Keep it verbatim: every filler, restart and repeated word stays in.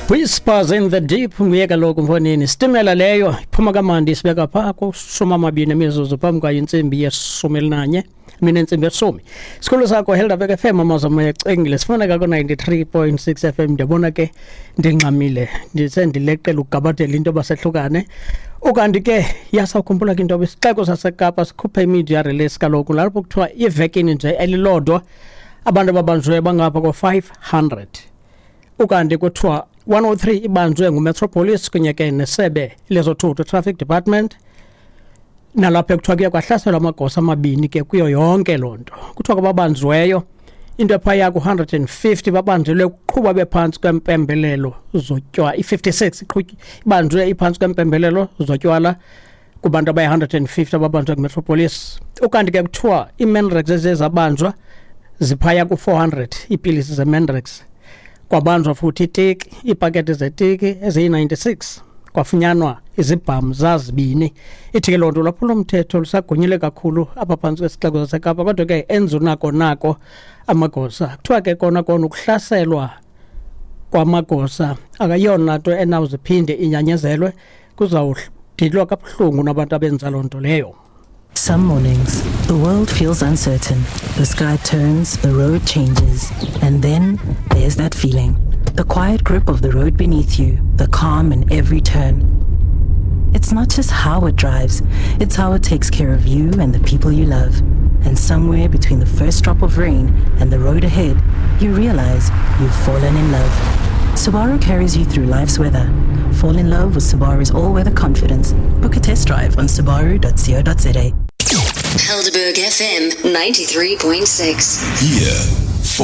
Whispers in the Deep nguye kaloku mfonini. Isitimela leyo iphuma kamandi isibeka phaa kushumi amabini emizuzu phambi kwayo intsimbi yeshumi elinanye, mina intsimbi yeshumi. Isikhululo sakho Helderberg F M, amazwi amayecengile, sifumaneka ku-ninety-three point six F M. Ndiyabona ke ndingxamile, ndisendileqela ukugabadela into basehlukane. Ukanti ke yasakhumbula ke into isixeko saseKapa sikhuphe imedia release kaloku lapho kuthiwa ivekini nje elilodwa abantu ababanjwe bangapha ko-five hundred. Ukanti kuthiwa one oh three ibanjwe nguMetropolis kunye ke nesebe lezothutho Traffic Department, nalapho kuthiwa kuye kwahlaselwa amagosa amabini ke kuyo yonke loo nto. Kuthiwa kwababanjweyo into ephaya ku hundred and fifty babanjelwe ukuqhuba bephantsi kwempembelelo zotywala, i-fifty-six ibanjwe iphantsi kwempembelelo zotywala kubantu abayi hundred and fifty ababanjwe nguMetropolis. Ukanti ke kuthiwa iiMandrax eziye zabanjwa ziphaya ku four hundred iipilisi zeMandrax. Kwabanjwa futhi itiki, iipaketi zetiki eziyi-ninety-six, kwafunyanwa izibhamu zazibini. Ithi ke loo nto ulwaphulomthetho lusagonyile kakhulu apha phantsi kwesixeko saseKapa, kodwa ke enzunako nako amagosa. Kuthiwa ke kona kona ukuhlaselwa kwamagosa akayona nto enawuziphinde inyanyezelwe, kuzawudilwa kabuhlungu nabantu abenza loo nto leyo. Some mornings, the world feels uncertain. The sky turns, the road changes, and then there's that feeling. The quiet grip of the road beneath you, the calm in every turn. It's not just how it drives, it's how it takes care of you and the people you love. And somewhere between the first drop of rain and the road ahead, you realize you've fallen in love. Subaru carries you through life's weather. Fall in love with Subaru's all-weather confidence. Book a test drive on subaru dot co dot za. Helderberg F M ninety-three point six. Here